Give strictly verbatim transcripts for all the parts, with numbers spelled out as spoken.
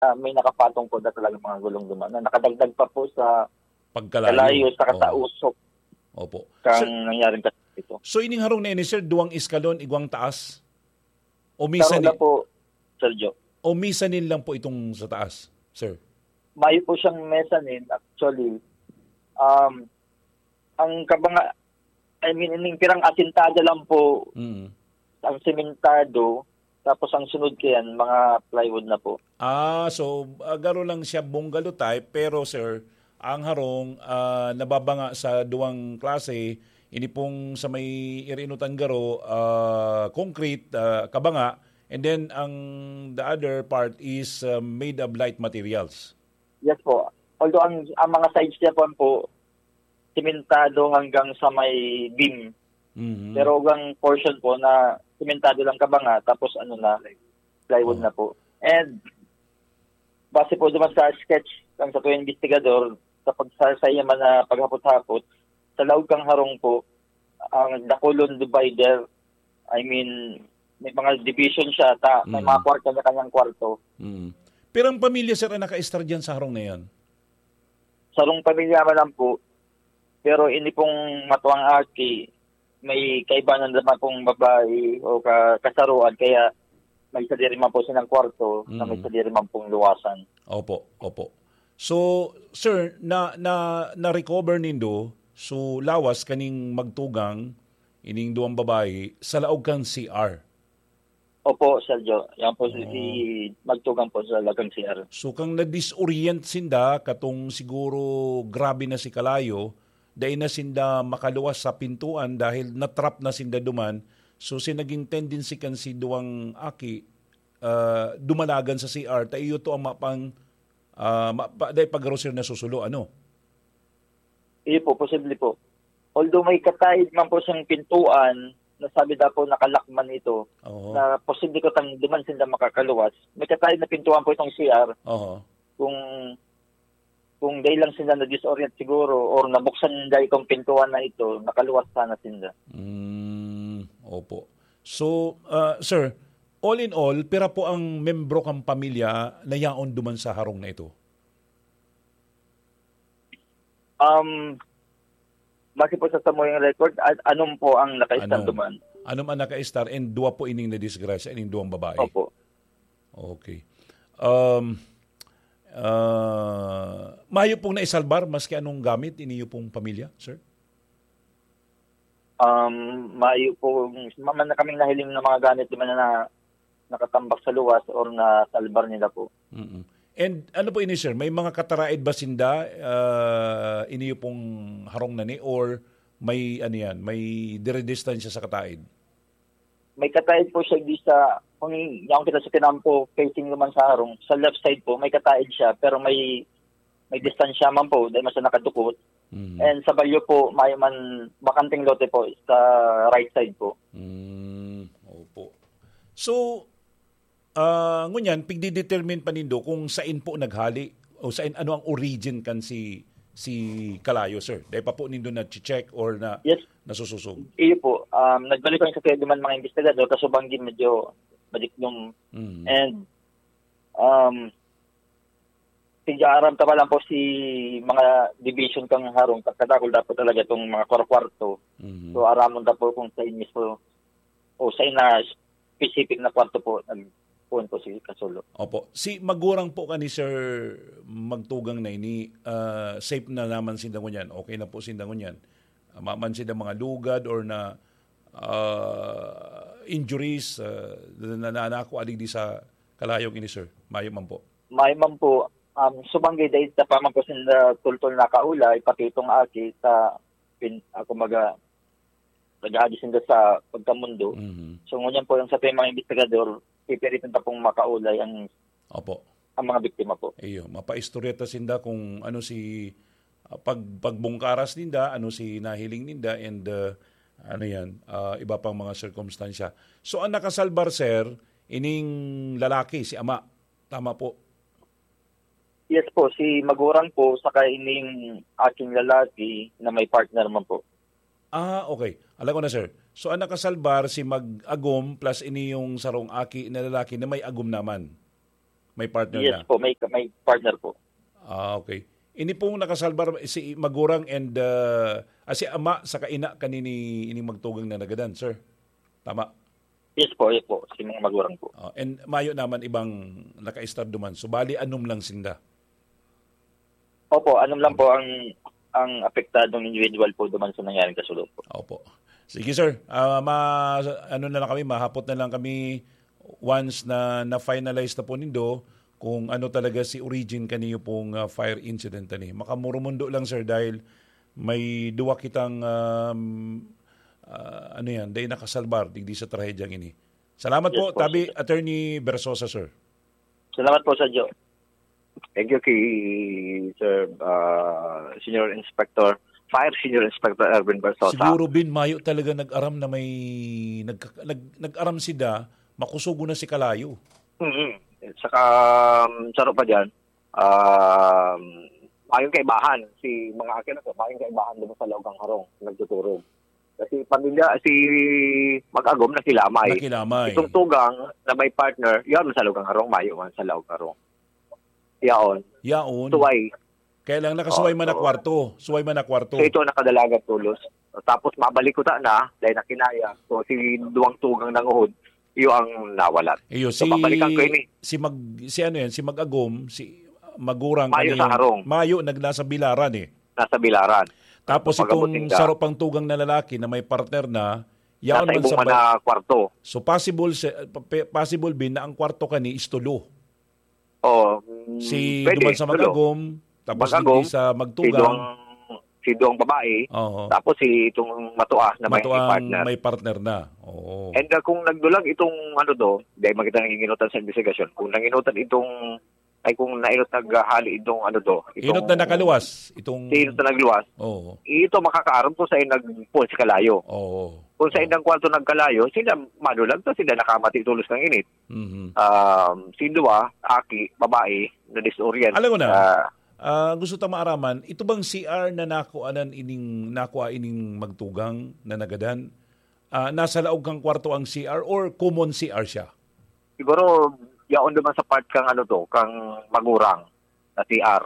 ah, may nakapatong po na talaga mga gulong duman na nakadagdag pa po sa Pagkalayo. kalayo saka sa Oo. usok Opo. kang Sir, nangyaring kaso ito. So, ining harong na ini, sir, duwang eskalon, igwang taas? O Karon mezzanine? na po, Sir Joe. O mezzanine lang po itong sa taas, sir? Mayo po siyang mezzanine, actually. Um, ang kabanga, I mean, ining pirang asintada lang po, Mm. ang sementado, tapos ang sunod kayan, mga plywood na po. Ah, so, ah, garo lang siya bungalow type, pero, sir, ang harong, ah, nababanga sa duwang klase. Ini pong sa may irinutan garo, ah, concrete, ah, kabanga, and then ang the other part is, ah, made of light materials. Yes po. Although ang, ang mga sides niya po, po, simentado hanggang sa may beam. Mhm. Pero ang portion po na simentado lang kabanga, tapos ano na, plywood Oh. na po. And base po naman sa sketch ng sa tuwing investigador, sa pagsasaya man na paghapot-hapot, sa laog kang harong po, ang dakulon divider, I mean, may mga division siya, ta, may Mm. mga kwarto na kanyang kwarto. Mm. Pero ang pamilya, sir, ang naka-estar dyan sa harong na yan? Sarong pamilya man lang po, pero ini pong matuang aki, may kaibanan naman pong babae o ka-, kasaruan, kaya may sadiri man po silang kwarto na may Mm. sadiri man pong luwasan. Opo, opo. So, sir, na, na, na-recover nindo, so, lawas kaning magtugang, ining duwang babae, sa laog kan C R? Opo, Sir Joe. Yan po si, Oo. si magtugang po sa laog kan C R. So, kang na-disorient sinda, katong siguro grabe na si kalayo, dai na sinda makaluwas sa pintuan dahil na-trap na sinda duman. So, si naging tendency kan si duwang aki, ah, dumalagan sa C R, ta iyo to ang mapang, ah, ma-, pa-, dai pag-grocery na susulo, ano? Iyo po, posible po. Although may kataid man po siyang pintuan, nasabi daw po nakalak man ito, Oo. na posible ko tang duman sinda makakaluwas. May kataid na pintuan po itong C R. Oho. Kung, kung dahil lang sila na-disorient siguro or nabuksan nila itong pintuan na ito, nakaluwas sana sinda. Mm, opo. So, ah, sir, all in all, pira po ang membro kang pamilya na yaon duman sa harong na ito? Um, base po sa samuyang record, a-, anom po ang nakaistar Anom. duman. Anom ang nakaistar and dua po ining nadisgrasya, ining duwang babae? Opo. Okay. Um, ah, mayo pong naisalbar maski anong gamit iniyo pong pamilya, sir? Um, mayo po, ma-, man na kaming nahiling na mga gamit duman na nakatambak sa luwas or nasalbar nila po. Mm. And ano po ini, sir? May mga kataraed ba sinda, ah, iniyo pong harong na ni, or may, ano yan, may dire-distansya sa kataed? May kataed po siya di sa, kung yaon kita sa kinampo, facing naman sa harong, sa left side po, may kataed siya, pero may, may distansya man po, dahil man sa nakadukot. Mm. And sa balyo po, may man bakanteng lote po sa right side po. Mm, opo. So, ah, ngunyan, pigdidetermine pa nindo kung sain po naghali o sain, ano ang origin kan si, si Kalayo, sir? Dahil pa po nindo na-check or na, Yes. nasusosog? Iyo po, um, nagbalik kami sa Quezon man mga investigador, kaso banggi medyo madiklom. Mm. And, um, tig-aaram ta pa lang po si mga division kang harong, kadakul dapat talaga itong mga kwarto. Mhm. So, aramon ta po kung sa inyo po, o sa ina specific na kwarto po, nagpuon po si Kasulo. Opo. Si magurang po kani, sir, magtugang na ini, ah, safe na naman sinda ngunyan. Okay na po sinda ngunyan. Ah, maman sinda mga lugad or na, ah, injuries, ah, na, na, na, nako adigdi sa kalayong ini, sir. Mayo man po. Mayo man po. Um, sumanggay dahil sa paman po sinda tultol na kaulay, pati itong aki sa pin-, ah, kumbaga, nag-aagi sinda sa pagkamundo. Mhm. So, ngunyan po, yung sa mga investigador, pipilitan ta pong makaulay ang, Opo. ang mga biktima po. Iyo, mapaistorya ta sinda kung ano si, ah, pag-, pagbungkaras ninda, ano si nahiling ninda, and, ah, ano yan, ah, iba pang mga sirkumstansya. So, ang nakasalbar, sir, ining lalaki, si ama. Tama po. Yes po, si magurang po, saka ining aking lalaki na may partner man po. Ah, okay. Alam ko na, sir. So, ang nakasalbar si mag-agom plus ini yung sarong aki na lalaki na may agom naman. May partner Yes na? po, may, may partner po. Ah, okay. Ini pong nakasalbar, si magurang and, ah, ah, si ama saka ina kanini, ining magtugang na nagadan, sir? Tama? Yes po, yes po. Si mga magurang po. Ah, and mayo naman ibang nakaistar duman. So, bali, anom lang sinda. Opo, anom lang po ang, ang apektadong individual po duman sa nangyaring kasulo po. Opo. Sige, sir. Ah, ma-, ano na lang kami, mahapot na lang kami once na na-finalize na po nindo kung ano talaga si origin kaniyo pong, ah, fire incident ani. Makamurumundo lang, sir, dahil may duwa kitang, um, ah, ano yan, dai nakasalbar digdi sa trahedyang ini. Salamat Yes po, po, Tabi, sir. Attorney Bersosa, sir. Salamat po, Sir Joe. Thank you kay Sir, ah, Senior Inspector, Fire Senior Inspector Erwin Bersosa. Siguro, Bin, mayo talaga nag-aram na may nag-, nag-, nag-aram sida, makusugo na si Kalayo. Mm. Saka, um, saro pa dyan, um, mayong kaibahan si mga akin na to, mayong kaibahan doon sa Laog kan Harong, nagtuturog. Kasi pamilya, si Mag-agom na kilamay. Nakilamay. Itong tugang na may partner, yun, sa Laog kan Harong, mayo man sa Laog kan Harong. Yaon. Yaon. Suway. Kaya lang nakasuway Oh, man na so kwarto. Suway man na kwarto. So ito, nakadalagan tulos. Tapos mabalik ko ta na, dahil nakinaya. So si duwang tugang nanguhod, iyo ang nawalat. Iyo, So si, babalikan ko ini. si Mag-, si ano yan, si Mag-agom, si Magurang Mayo sa kaniyang Harong. Mayo, nag-, nasa Bilaran eh. Nasa Bilaran. Tapos Pag-abot itong ninda. saro pang tugang na lalaki na may partner na, yaon Nasa man sa ibong man ba-, na kwarto. So possible, si, pa-, pe-, possible, Bin, na ang kwarto kani is tulo. Oo, mm, Si pwede, duman sa tulo. Mag-agom, tapos Mag-agom, digdi sa si Magtugang. duwang, si duwang babae, Oo. tapos si itong matua na may Matuang partner. may partner na. Oo. And, ah, kung nagdulag itong ano to, dahil makita nanginginutan sa investigasyon, kung nanginutan itong, ay kung nainot naghahali itong ano to, itong Inot na nakaluwas, itong si inot na nagluwas, Oo. ito makakaaram kung saan nagpuan si Kalayo. Oo. Kung sa Oo. indang kwarto nagkalayo, sila madulag to, sila nakamati tulos ng init. Mhm. Um, si duwa, aki, babae, na-disorient. Alam ko na. Ah, Ah, gusto ta maaraman, ito bang C R na nakuanan ining, nakua ining magtugang na nagadan, ah, nasa laog kang kwarto ang C R or common C R siya? Siguro, yaon naman sa part kang ano to, kang magurang na C R.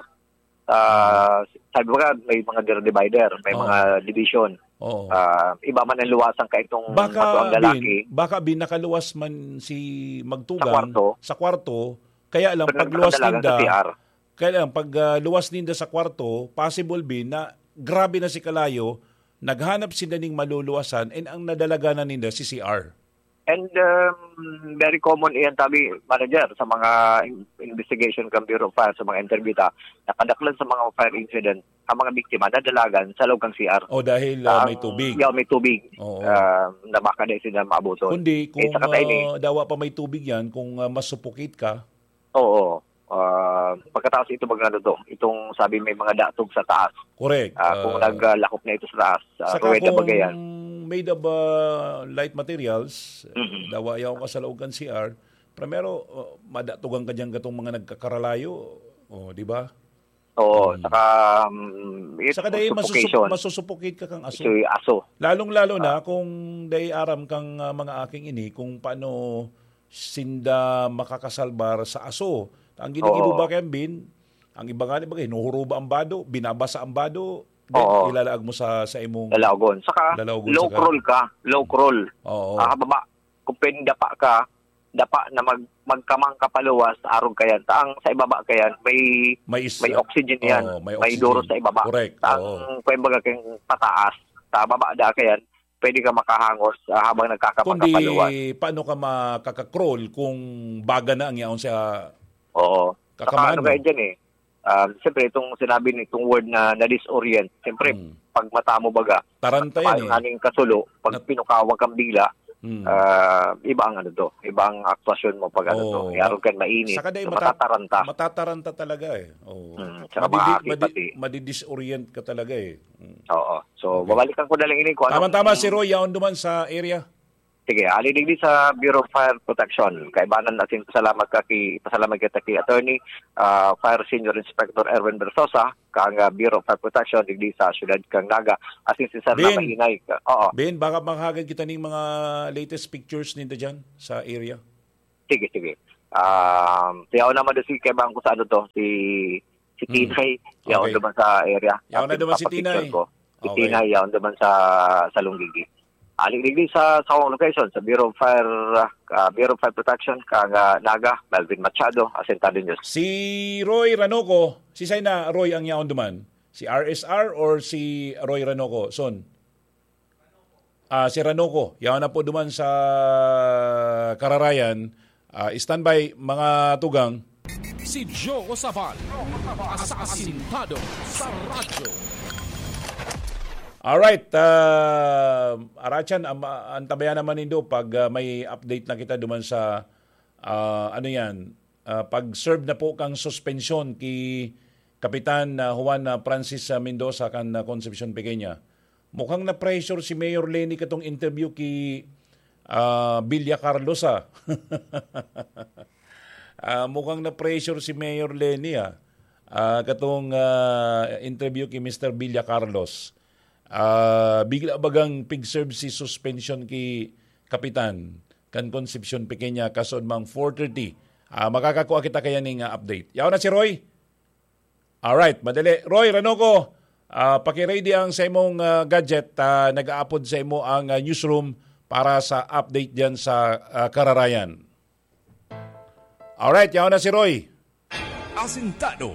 Ah, Hmm. sabi mo nga, may mga dir-, divider, may Oo. mga division. Oo. Ah, iba man ang luwasan ka itong Baka, matuang lalaki. Bin, baka, Bin, nakaluwas man si Sa magtugang kwarto. sa kwarto, kaya lang Pero pagluwas nakadalagan sa ninda, C R. kaya lang pag, ah, luwas ninda sa kwarto, possible, Bin, na grabe na si kalayo, naghanap sinda ning maluluwasan, and ang nadalaganan ninda si C R. And, um, very common iyan, tabi, manager, sa mga in-, investigation kan Bureau of Fire, sa mga interview ta, nakadaklan sa mga fire incident, ang mga biktima nadalagan sa loob kang C R. O, dahil, ah, Ang, may tubig. yeah, may tubig. Oo. Ah, na baka di sila maabuton. Kundi Eh, kung, saka tayo ni ah, dawa pa may tubig yan, kung, ah, mas suffocate ka. Oo. Ah, pagkatapos ito, mag-ano to, itong sabi may mga datog sa taas. Correct. Ah, kung Ah, naglakop na ito sa taas, ah, saka ruweda kung ba yan? made of, ah, light materials, Mhm. dawa yaw ka sa loob kan C R, primero, ah, madatugan ka diyan katong mga nagkakaralayo, o, di ba? Oo, Hmm. saka, mm, it Saka dahil masusup-, suffocation. masusuffocate ka kang aso. Ito yung aso. Lalong-lalo na Ah. kung dahil aram kang, ah, mga aking ini, kung paano sinda makakasalbar sa aso. Ang ginigibo Oo. ba kaya, Bin? Ang iba nga, di ba, hinuhuruba ang bado, binabasa ang bado, then Oo. ilalaag mo sa, sa imong Lalaogon. Saka, lalaogon low sa ka- crawl ka. Low crawl. Oo. Ah, baba. Kung pwedeng dapa ka, dapa na mag-, magkamang ka paluwas, arog ka yan. Taang sa ibaba ka yan, may, May is-, may oxygen yan. oo, may May oxygen. duro sa ibaba. Correct. Taang, Oo. kung baga kang pataas, sa baba da ka yan, pwede ka makahangos, ah, habang nagkakapag Kundi, paano ka makaka-crawl kung baga na ang yaon sa Oo. Saka kakamaan ano mo? kayo dyan eh? Um, siyempre, itong sinabi ni, itong word na na-disorient, siyempre, Hmm. pag mata mo baga, Taranta yan eh. aning kasulo, pag Nat- pinukawang kang bila, Hmm. ah, iba ang ano to, iba ang aktwasyon mo pag ano to, Oo. yarong kan mainit, Saka dahil so mata-, matataranta. matataranta talaga eh. Oo. Hmm, saka Madidi-, makakipati. madi-, madidisorient ka talaga eh. Mm. Oo. So, Okay. babalikan ko na lang ini kung anong Tama-tama si Roy, yaon duman sa area. Sige, ali digdi sa Bureau of Fire Protection. Kaibanan asin pasalamat ka ki, pasalamat kita ki Attorney, ah, Fire Senior Inspector Erwin Bersosa, kang, ah, Bureau of Fire Protection digdi sa siyudad kang Naga. Asin si Sir Bin. Namahinay ka. Oo. Bin, baka makahagad kita ning mga latest pictures ninda dyan sa area. Sige, sige. Um, yaon naman doon si, kay bangko sa ano to, si, si Hmm. Tinay, yaon Okay. naman sa area. Yaon na Kapit-, duman si kapapicture Tinay. ko. Si Okay. Tinay, yaon naman sa, sa Lunggigi. Aling digdi sa, sa akong location, sa Bureau of Fire, ah, ah, Bureau of Fire Protection, kang, ah, Naga, Melvin Machado, Asentado News. Si Roy Ranoco, si Sayna Roy ang yaon duman? Si R S R or si Roy Ranoco? Son? Ah, si Ranoco, yaon na po duman sa Kararayan. Ah, standby, mga tugang. Si Joe Sabal, sa Asintado sa Radyo. Alright, ah, Arachan, am-, antabayan naman nindo pag, ah, may update na kita duman sa, ah, ano yan, ah, pag-serve na po kang suspensyon ki Kapitan, ah, Juan, ah, Francis, ah, Mendoza kan, ah, Concepcion Pequeña. Mukhang na-pressure si Mayor Leni katong interview ki, ah, Villa Carlos, ah. Ah, mukhang na-pressure si Mayor Leni, ah. Ah, katong, ah, interview ki Mister Villa Carlos. Ah, bigla bagang pig-serve si suspension ki Kapitan kan Concepcion Pequeña kasod mang four thirty. Ah, makakakua kita kaya ning, ah, update. Yaon na si Roy. Alright, madali. Roy Ranoco, ah, paki-ready ang sa imong, ah, gadget. Ah, nag-aapod sa imo ang, ah, newsroom para sa update diyan sa, ah, Kararayan. Alright, yaon na si Roy. Asintado.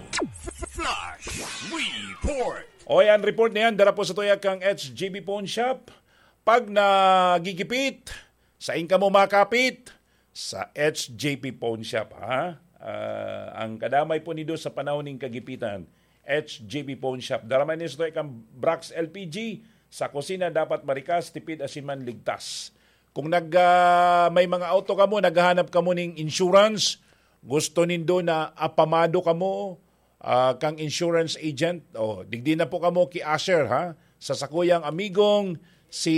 Flash Report. Oy, ang report na yan, dara po sa tuya kang H G B Pawn Shop. Pag nagigipit, sain kamo makapit? Sa H J P Pawn Shop, ha? Ah, ang kadamay po nido sa panahon ning kagipitan, H J P Pawn Shop. Dara man nindo sa tuya kang Brax L P G, sa kusina dapat marikas, tipid, asin man ligtas. Kung nag, ah, may mga auto kamo, naghahanap kamo ning insurance, gusto nindo na apamado kamo, ah, kang insurance agent, oh, digdi na po kamo ki Asher, ha? Sa sakuyang amigong si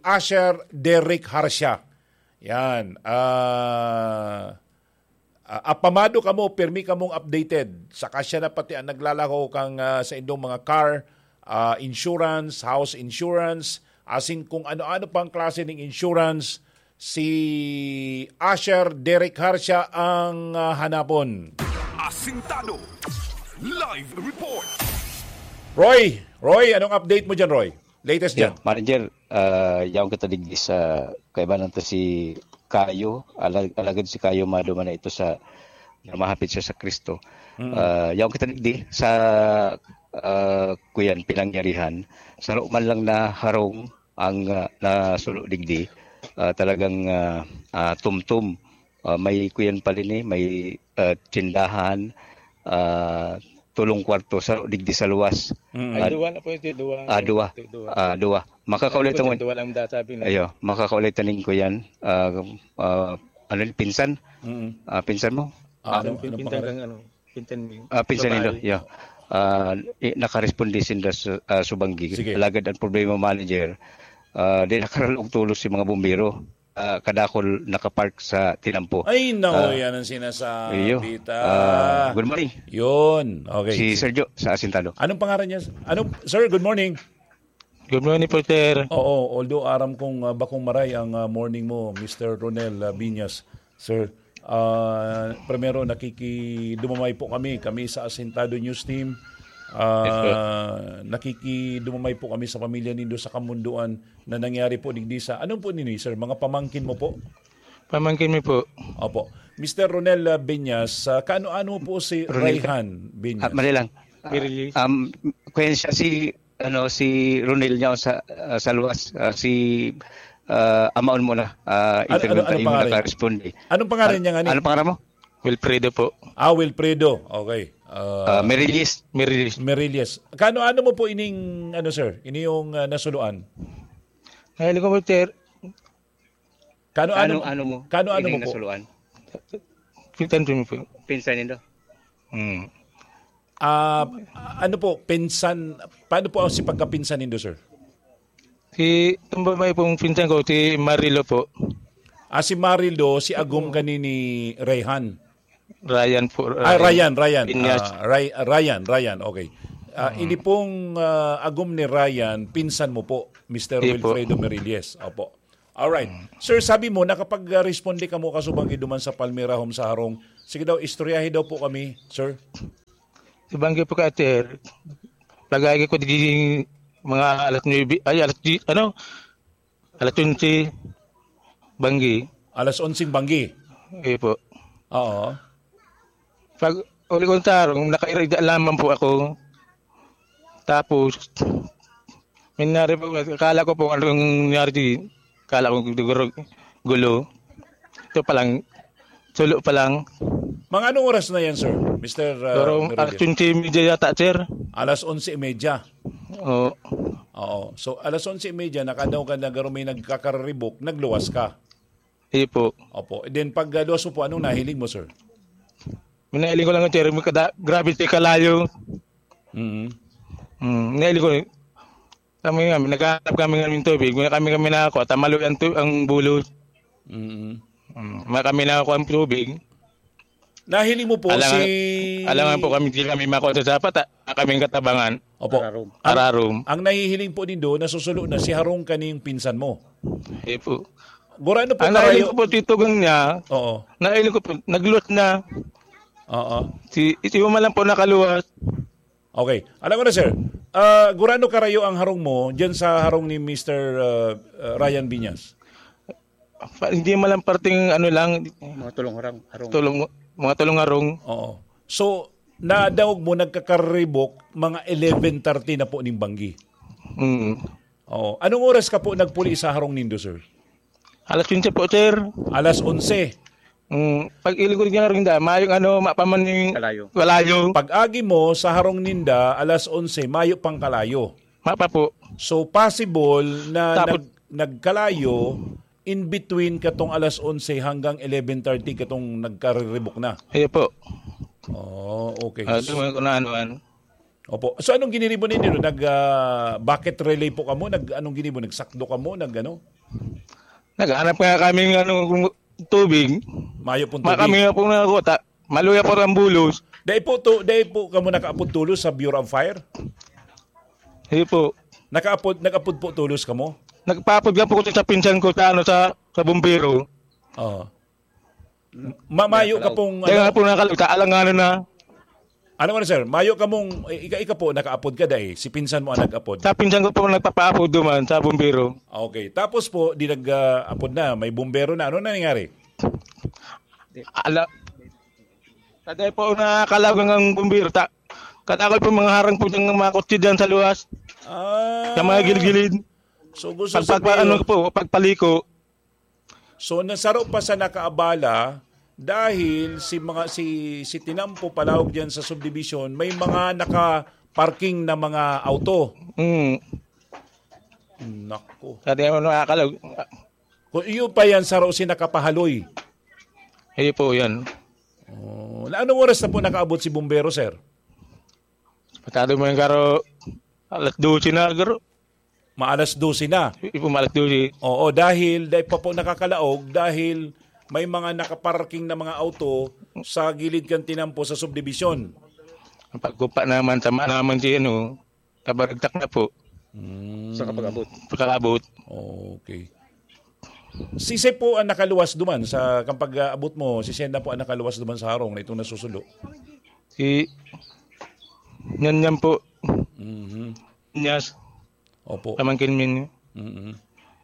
Asher Derek Harsha. Yan. Ah, ah, apamado kamo, pirmi kamong updated. Saka siya na pati ang naglalaho kang, ah, sa indong mga car, ah, insurance, house insurance, asin kung ano-ano pang klase ning insurance, si Asher Derek Harsha ang, ah, hanapon. Asintado. Live report. Roy, Roy, anong update mo dyan, Roy? Latest Yeah, dyan? Manager, ah, yaon kita digdi sa kaibanan ta si Kayo, alag-, alagad si Kayo maduman na ito sa, na mahapit siya sa Kristo. Mm. Ah, yaon kita digdi sa, ah, kuyan, pinangyarihan. Saro man lang na harong ang, ah, nasulo digdi, ah, talagang, ah, ah, tumtum. Ah, may kuyan pa rin eh, may, ah, tindahan, ah, tulong kwarto sa digdi sa luwas. Mm. Ay, Ah, duwa na po ito, duwa. Ah, duwa. Ito, duwa. Ah, duwa. Makakaulay Ano po, tamo. Duwa lang data, bin- Ayo, makakaulay taning kuyan. Ah, ah, ano yun, pinsan? Mm. Ah, pinsan mo? Ah, Ah, ano, yung anong pinsan pangalan? Kang ano, pinsan mo. Ah, pinsan Babae. Nindo, yeah. Ah, i-, nakaresponde sinda sa, ah, subanggi. Sige. Alagad ang problema, manager, ah, di nakaralog tulos si mga bumbero. Ah, kadakol nakapark sa tinampo. Ay, nako, Ah. Yan ang sinasabi Iyo. ta. Ah, good morning. Yun. Okay. Si Sergio sa Asintado. Anong pangalan niya? Ano, sir, good morning. Good morning po, sir. Oo, although aram kong, ah, bakong maray ang, ah, morning mo, Mister Ronel, ah, Binyas. Sir, ah, primero, nakikidumamay po kami, kami sa Asintado News Team. Ah, Yes, sir. Nakikidumamay po kami sa pamilya nindo sa Kamunduan na nangyari po digdi sa, anong po nini, sir? Mga pamangkin mo po? Pamangkin mi po. Opo. Mister Ronel, ah, Binyas, ah, kaano-ano po si Ronel Ka- Rayhan Binyas? Ah, mali lang. Ah, Mirilis. Um, kaya siya si, ano, si Ronel niya sa, ah, sa luwas, ah, si, ah, Amaon mo na, ah, Ano, interview ano, ano tayo pangalan? Nakaresponde. Anong pangalan An-, niya nga ni? Ano pangalan mo? Wilfredo po. Ah, Wilfredo. Okay. Ah, Ah, Mirilis. Mirilis. Mirilis. Kaano-ano mo po ining, ano, sir? Ini yung, ah, nasuluan? Nahiling ko po, sir. Kaano-ano Ano, mo? Ano mo? Kaano-ano Ining mo po? Nasuluan? Pinsan ko po. Pinsan nindo? Hmm. Ah, ano po, pinsan, paano po ang si pagkapinsan nindo, sir? Si, itong babae pong pinsan ko, si Marilo po. Ah, si Marilo, si agom Mm. kani ni Rayhan? Ryan po, Ah, Ryan. Ryan, Ryan. Inyas. Ah, Ray-, Ryan, Ryan, okay. Ah, Mm. ini pong, ah, agom ni Ryan, pinsan mo po, Mister Sige po. Wilfredo Meriles. Opo. Alright. Sir, sabi mo, nakapag-responde kamo kasubanggi duman sa Palmera Home sa Harong. Sige daw, istoryahi daw po kami, sir. Subanggi po ka, sir. Lagay ko di mga alas nuebe, ay, alas diyes, ano? Alas onse, banggi. Alas onseng banggi? Iyo po. Oo. Pag uli ko sa harong, nakairida lamang po ako. Tapos, may nangyari po, akala ko po anong nangyari di, akala ko siguro gulo. Ito pa lang, sulo pa lang. Mga anong oras na yan, sir? Mister, uh, Pero Meridio? Alas onse y media yata, sir. Alas onse y media? Oo. Oo. So, alas onse y media, nakadaw ka na garo may nagkakaribok, nagluwas ka? Iyo po. Opo. And then, pag uh, luwas mo po, anong nahiling mo, sir? Minahiling ko lang, sir, may kada, grabe, sir, kalayo. Mm. Mm, minahiling ko, kami nga, naghahanap kami ng tubig. Wala kami, kami nakakuha. Tamalo ang, tu- ang bulos. Mm. Mm. Wala kami nakakuha ang tubig. Nahiling mo po Alangan, si alangan po kami, di kami makuha sa dapat, ah. Kaming katabangan. Opo. Ararom. Ang, Ararom. Ang nahihiling po nindo, nasusulo na si Harong kaning pinsan mo. Iyo po. Gurano po Ang nahiling karayo? Ko po, titugang niya. Oo. Nahiling ko po, nagluwas na. Oo. Si, ito yung man lang po nakaluwas. Okay. Alam ko na, sir. Ah, gurano karayo ang harong mo diyan sa harong ni Mister, ah, ah, Ryan Binyas? Pa- hindi man lang parting ano lang, Mga tulong harang, harong. Tulong, mga tulong harong. Oo. So, nadangog mo nagkakaribok mga eleven thirty na po ning banggi. Mm. Oo. Anong oras ka po nagpuli sa harong nindo, sir? Alas onse po, sir. Alas onse. Mm, pag iligod niya rin da, mayong ano, mapaman yung Kalayo. Kalayo. Pag-agi mo sa harong ninda, alas onse, mayo pang kalayo. Mapa po. So, possible na Tapos nag-, nagkalayo in between katong alas onse hanggang eleven thirty katong nagkariribok na. Iyo po. Oh, okay. Ah, doon ko na ano, ano. Opo. So, anong ginibo ninyo? Nag, ah, bucket relay po kamo? Nag, anong ginibo? Nagsakdo kamo? Nag, ano? Naghanap nga kami ng ano, tubig. Mayo pong Ma, tubig. Kami nga po na ako, ta, maluya po ang bulos. Dai po to, dai po kamo nakaapod tulos sa Bureau of Fire? Iyo po. Nakaapod, nag-apod po tulos kamo? Nagpaapod nga po ko sa pinsan ko sa, ano, sa, sa bumbero. Oo. Ma-, mayo ka Kaya pong, Kaya ano? Nga po nakakalimutan, alanganin na. Ano ka na, sir? Mayo ka mong, i-, ika, ika po, nakaapod ka dai. Si pinsan mo ang nag-apod. Sa pinsan ko po nagpapaapod duman sa bumbero. Okay. Tapos po, di nag, ah, apod na. May bumbero na. Ano na nangyari? Ala, taday po nakakalaw ang bumbero. Ta, katakot po mga harang po dyan, mga kotse dyan sa luwas. Ah. Sa mga gilid-gilid. So, gusto Pagpagpa-, sabihin, ano po, pagpaliko. So, nasaro pa sa nakaabala dahil si mga, si, si Tinampo palawag diyan sa subdivision, may mga naka-parking na mga auto. Mm. Nako. Sa di mo nakakalaw. Kung iyo pa yan, saro si nakapahaloy. Iyo po yan. Oh, na anong oras na po nakaabot si bumbero, sir? Patado mo yung garo, alas dose na, garo. Maalas dose na. Ipo maalas dose. Oo, dahil, dahil pa po nakakalaog, dahil may mga nakaparking na mga auto sa gilid kan Tinampo sa subdivision. Ang pagkupa naman, tama naman si ano, kabaragtak na po. Mm. Sa kapag-abot. Pagkakabot. Okay. Sisay po ang nakaluwas duman sa, kapag-abot mo, sisay na po ang nakaluwas duman sa harong na itong nasusulo? Si Nyanyan po. Mhm. Nyas. Opo. Pamangkin min. Mm-mm.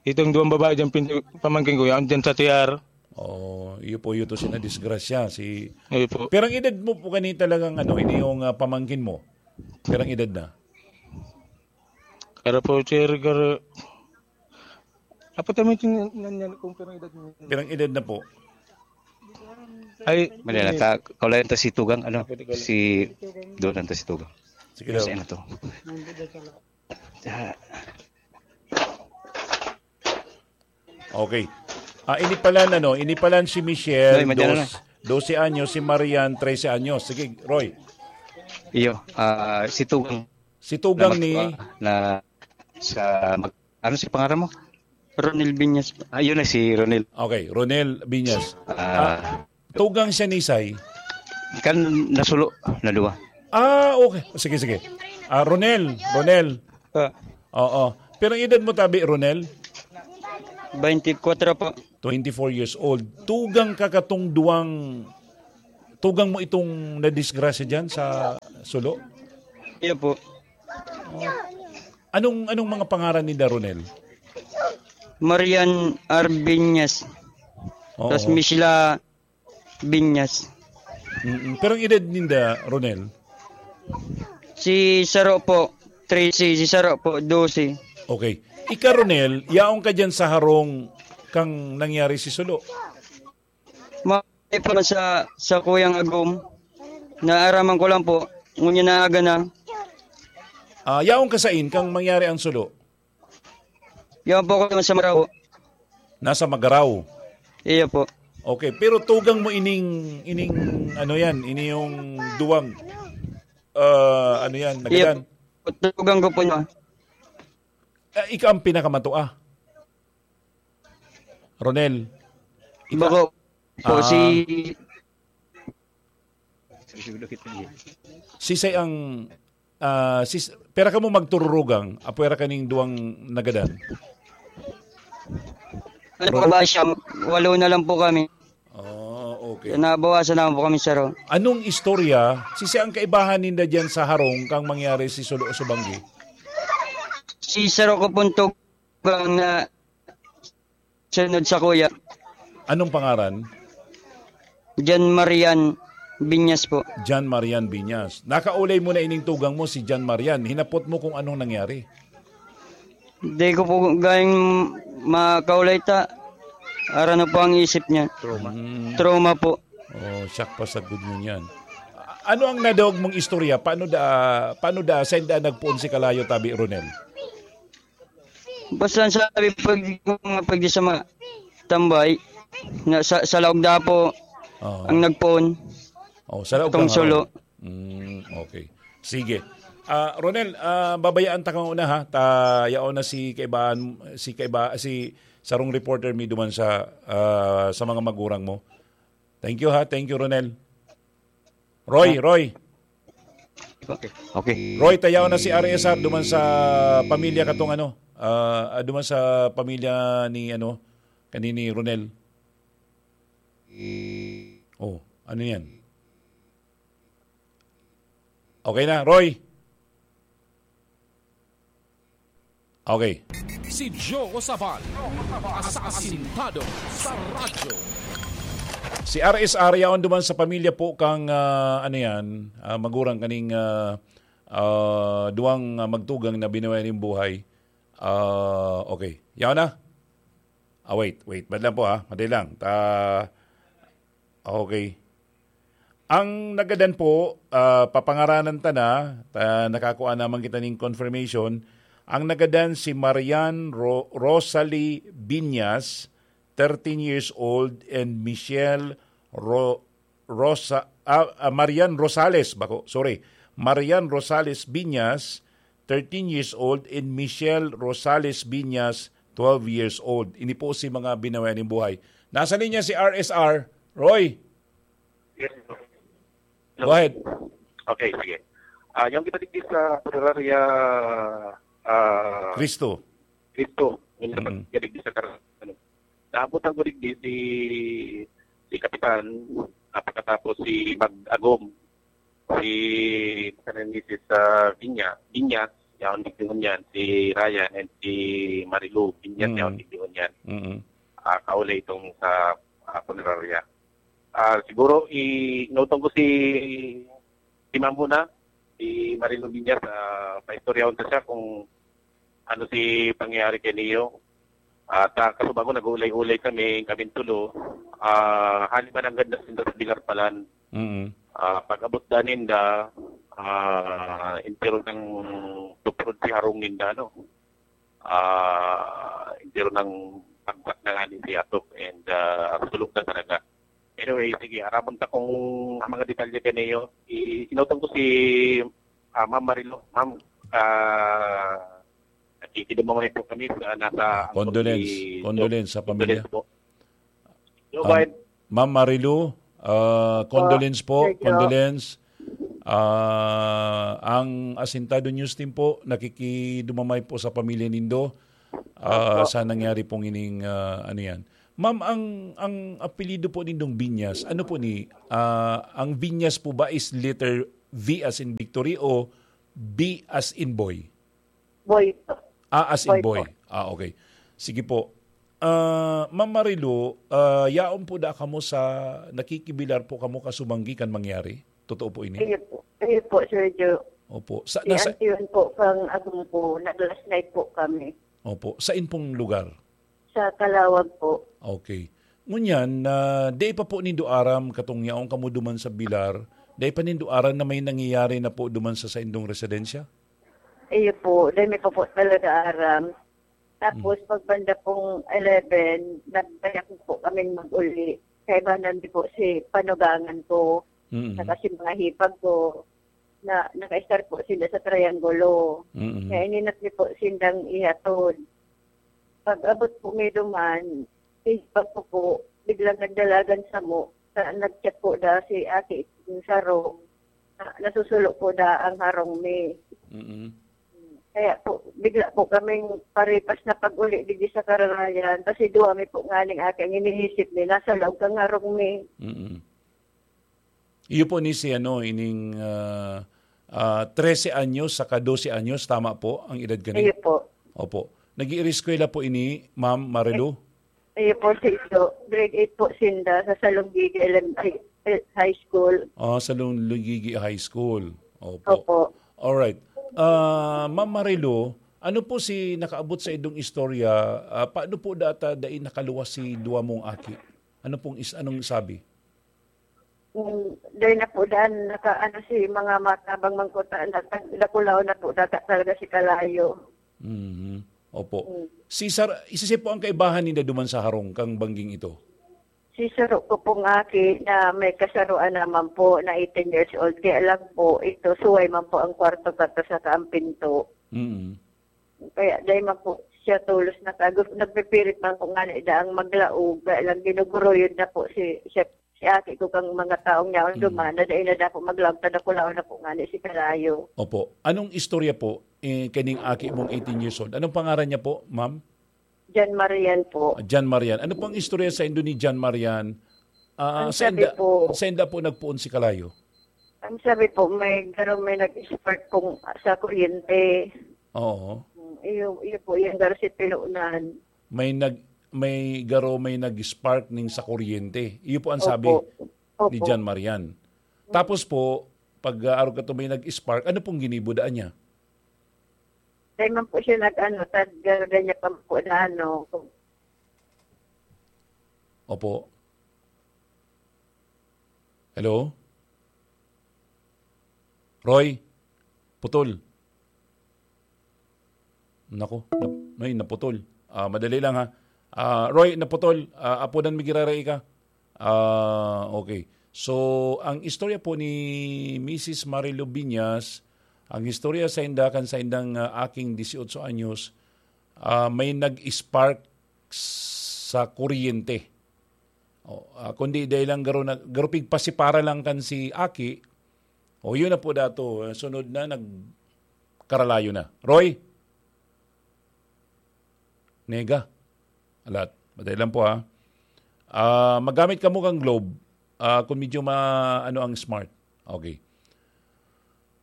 Itong duwang babae dyan, pin-, pamangkin ko, yan dyan sa C R. Oh, iyo po, iyo to si nadisgrasya, si Iyo po. Pirang edad mo po kani talagang ano, ini yung, ah, pamangkin mo? Pirang edad na? Pero po, sir, kar-, apo, tama yung nan-, nan-, kung pirang edad mo. Pirang edad na po? Ay, Mali na, ta, kaulayan ta si Tugang, ano, Pwede ko lang. Si, doon lang ta si Tugang. Sige Yes, daw. Ano to? Ah, Okay. Ah, inipalan, ano, inipalan si Michelle, Noy, madyan na. Dos-, dose anyos, si Marian, trese anyos. Sige, Roy. Iyo, ah, si Tugang Si Tugang na ni mag-, na sa mag-, ano si pangalan mo? Ronel Viñas. Ayun na si Ronel. Okay, Ronel Viñas. Ah. Ah, Tugang siya ni Isay? Kan nasulo, na duwa. Ah, okay. Sige, sige. Ah, Ronel, Ronel. Ah. Oo. Pirang edad mo tabi, Ronel? Twenty-four po. Twenty-four years old. Tugang ka katong duwang, tugang mo itong nadisgrasya dyan sa Sulo? Iyo po. Anong, anong mga pangaran ni Ronel? Marian Arbiñas. Oo. Tas Michela Binyas. Mm-mm. Pero ang edad ninda, Ronel? Si Saro po, trese. Si Saro po, dose. Okay. Ika, Ronel, yaon ka dyan sa harong kang nangyari si Sulo? Ma-, pa sa, sa Kuyang Agom. Naaraman ko lang po. Ngunyan na aga na. Ah, yaon ka sain kang mangyari ang Sulo? Yaon po ako sa Maraw. Nasa Magaraw? Iyo po. Okay, pero tugang mo ining, ining, ano yan, ini yung duwang, ah, ano yan, Iyo nagadan? po. Tugang ko po niya. Ah, ika ang pinakamatua. Ronel. Ika, Bako po, ah, si sisay ang, ah, sis-, pera ka mo magtururugang, apwera kaning duwang nagadan? Ano po ba siya? Walo na lang po kami. Oh, okay. Nabawasan naman po kami, sir, oh. Anong istorya? Sisay ang kaibahan ninda dyan sa harong kang mangyari si Sulo o Subanggi? Si Saro ko pong tugang na sunod sa kuya. Anong pangaran? John Marian Binyas po. John Marian Binyas. Nakaulay mo na ining tugang mo, si John Marian. Hinapot mo kung anong nangyari. Di ko po gayong makaulay ta. Ara na po ang isip niya. Trauma. Mm. Trauma po. Oh, shock pa sa good mo niyan. A-, ano ang nadog mong istorya? Paano da, paano da, saan da nagpoon si Kalayo, Tabi Ronel? Basta ang sabi, pag, mga pag sa mga tambay, na sa, sa Laog Dapo, Oo. ang nagpoon. Oh, sa Laog Itong Dapo. Sulo. Mm, okay. Sige. Ah, Ronel, ah, babayaan ta kang una, ha. Ta, yaon na si kaibahan, si kaiba, si sarong reporter mi duman sa, ah, sa mga magurang mo. Thank you, ha. Thank you, Ronel. Roy, Roy. Okay. Okay. Roy, tayaw na si R S R duman sa pamilya katong ano, ah, ah, duman sa pamilya ni ano, kanini Ronel. Oh, ano yan? Okay na, Roy? Okay. Si Joe Sabal, asasintado sa radyo. Si R S R yaon duman sa pamilya po kang, ah, ano yan, ah, magurang kaning, ah, ah, duwang, ah, magtugang na binawian nin buhay. Ah, okay. Yaon na? Ah, wait, wait. Madali lang po, ha? Madali lang. Ta-, okay. Ang nagadan po, ah, papangaranan ta na, ta-, nakakua naman kita ning confirmation. Ang nagadan si Marian Ro-, Rosalie Binyas, thirteen years old, and Michelle Ro-, Rosa-, ah, ah, Marian Rosales, bako, sorry. Marian Rosales Binyas, thirteen years old, and Michelle Rosales Binyas, twelve years old. Ini po si mga binawian nin buhay. Nasa linya si R S R. Roy, Yes, sir. Go ahead. Okay, sige. Ah, yung kita digdi sa Punerarya, ah, Cristo. Cristo, yung Mm. kita digdi sa Car-, ano. Naabutan ko digdi si, si Kapitan, ah, pagkatapos si Mag-agom, si, si Misis, ah, Binya-, Binyas, yaon digdi ngunyan, si Ryan and si Marilu Binyas, Mm. yaon digdi ngunyan. Mm. Ah, kaulay itong sa, ah, punerarya. Ah, siguro, i-, inutong ko si, si Ma'am muna, si Marilu Binyas, ah, paistoryahon ta siya kung ano si pangyayari kay Neo. At, ah, kasubago, nag-uulay-ulay kami, kaming tulo. Ah, hali man nanggad na sinda sa Bingarpalan. Mm. Ah, pag-abot da ninda, ah, entero nang tupurod si harong ninda, no? Ah, entero nang pagbat na nga ni si Atok and, ah, sulok na talaga. Anyway, sige, arabon ta kung ang mga detalye kaniyo. I-, inutang ko si, ah, Ma'am Marilo. Ma'am, ah, nakikidumangay po kami sa nasa Condolence. Condolence sa pamilya. Condolence po. Go Um, ahead. Ma'am Marilu, ah, condolence po, thank you. Condolence. Ah, ang Asintado News Team po, nakikidumamay po sa pamilya nindo. ah, Opo. sa nangyari pong ining, ah, ano yan. Ma'am, ang, ang apelyido po nindong Viñas, ano po ni, ah, ang Viñas po ba is letter V as in victory o B as in boy? Boy po. Ah, as in Boy boy. po. Ah, okay. Sige po. Ah, Ma'am Marilu, ah, yaon po da kamo sa, nakikibilar po kamo kasubanggi kan mangyari? Totoo po ini? Iyo po. Iyo po, Sir Joe. Opo. Sa, Si nasa, Auntie Yun po, kang Agumpo, nag-last night po kami. Opo. Sain pong lugar? Sa Calawag po. Okay. Ngunyan, na di pa po nindo aram katong yaon kamo duman sa Bilar, di pa nindo aram na may nangyayari na po duman sa saindong residensya? Iyo po, dahil may pa po talaga aram. Tapos, Mm. pagbanda pong eleven, nagbayak po kaming mag-uli. Kaibanan di po si panugangan ko, Mm. saka si mga hipag ko, na naka-start po sila sa Triangulo. Mm. Kaya ininat niyo po sindang ihatod. Pag-abot po mi duman, si hipag ko po, biglang nagdalagan samo. Sa, nag-chat po da si ate yung saro. Na, nasusulo po da ang harong mi. Mm. Kaya po, bigla po kaming paripas na pag-uli digdi sa kararayan. Kasi duwa mi po nganing aki ang iniisip mi. Nasa laog kang harong mi. Mm. Iyo po ni si ano, ining, ah, ah, trese anyos saka dose anyos, tama po ang edad kani? Iyo po. Opo. Nag-iireskwela po ini, Ma'am Marilu? Iyo po, si Ido. Grade eight po sinda sa Salonggigi Elem-, ay, eh, High School. Ah, Salonggigi High School. Opo. Opo. Alright. Ah, Ma'am Marilu, ano po si nakaabot sa idong istorya? Ah, paano po data dai nakaluwas si duwa mong aki? Ano pong is-, anong sabi? Mm, dai na po daan, naka, ano, si mga matabang mangkuta, naka-, nakulaw na po data talaga si Kalayo. Mhm. Opo. Mm. Si Sar-, isa siya po ang kaibahan ninda duman sa harong kang bangging ito? Si saro ko pong aki na may kasaroan naman po na eighteen years old, kaya lang po, ito, suway man po ang kwarto kato saka ang pinto. Mm. Kaya dai man po siya tolos na kago-, nagpipirit man po ngani daang maglaog, kaya lang ginuguruyod na po si, si, si aki ko kang mga taong yaon Mm. duman, na dai na dapo maglaog, tadakulaon na po ngani si Kalayo. Opo. Anong istorya po, eh, kaning aki mong eighteen years old? Anong pangaran niya po, ma'am? Jan Marian po. Ah, Jan Marian. Ano pong istorya sa indo ni Jan Marian? Ah, Ang sa sabi inda, po sa inda po nagpoon si Kalayo? Ang sabi po, may garo may nag-spark kung sa kuryente. Oo. Mm, iyo, iyo po, yung garo si Pinunan. May nag-, may garo may nag-spark ning sa kuryente. Iyo po ang sabi Opo. ni Opo. Jan Marian. Tapos po, pag, ah, arog ka to may nag-spark, ano pong ginibo daan niya? Dai man po siya nag-ano, tad-, garo niya pa po na ano. Opo. Hello? Roy? Putol. Nako, nap-, ay, naputol. Ah, madali lang, ha. Ah, Roy, naputol. Ah, apodan mi giraray ka. Ah, okay. So, ang istorya po ni Misis Marilu Biñas, ang istorya sa inda kan sa indang, ah, aking dieciocho anyos, ah, may nag-spark sa kuryente. O, ah, kundi dahil lang garo na, garo pigpasipara lang kan si Aki, o, yun na po dato, eh, sunod na, nagkaralayo na. Roy? Nega? Alat. Madali lang po, ha. Ah, magamit kamo kang Globe, ah, kung medyo ma-, ano ang smart. Okay.